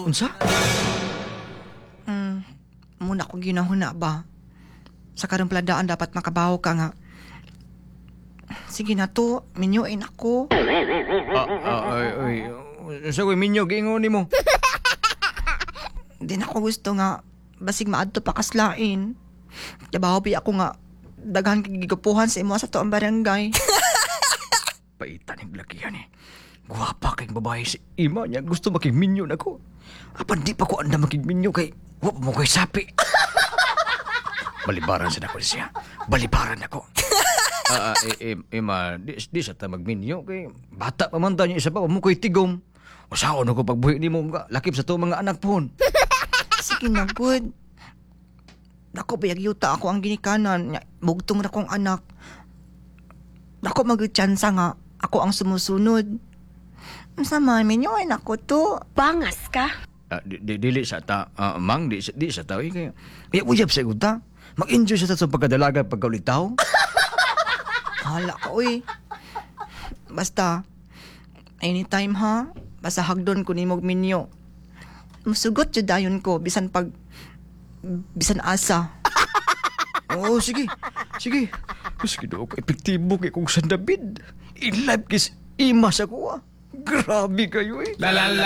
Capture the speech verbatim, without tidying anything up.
Unsa? Mao na akong ginahuna ba? Sa karong paladaan dapat makabawo ka nga. Sige na to, minyuin ako. Ah, ah, ay, ay. Unsa ko'y minyo giingon nimo? Di na ako gusto nga basig maadto pa kas lain. Kabawo bi ako nga daghan kay gigwapuhan sa imo sa atoang barangay. Paita ning lakihan eh. Gwapa kay babae si ima niya gusto makigminyo nako. Apan di pa ko andam makigminyo kay wa pa mo ko'y sapi. Balibaran sa nako siya. Balibaran nako. Ah, ah, eh, eh, ima, di, di sa ta magminyo kay bata pa man ta niya isa pa wa mo ko'y tigom. Usaon ako pagbuhi nimo nga lakip sa to mga anak pohon. Sige na, good. Dako bayag yuta ako ang ginikanan. Nya, Bugtong ra kong anak. Dako mag-tsansa nga ako ang sumusunod. Unsa man, minyoin ako to. Bangas ka? Ah, di, di, dili sa ta, ah, mang, di, di sa ta, eh, kaya, kaya uyab sa ta. Mag-enjoy sa ta sa pagkadalaga pagkaulitaw. Hala ka, uy. Basta, anytime ha, basta hagdon ko nimo og minyo. Musugot jud dayon ko, bisan pag, bisan asa. Oo, sige. Sige. Sige daw ko epektibo kay kung San David. In life kis ima sa kuha. Grabe kayo eh. La la la.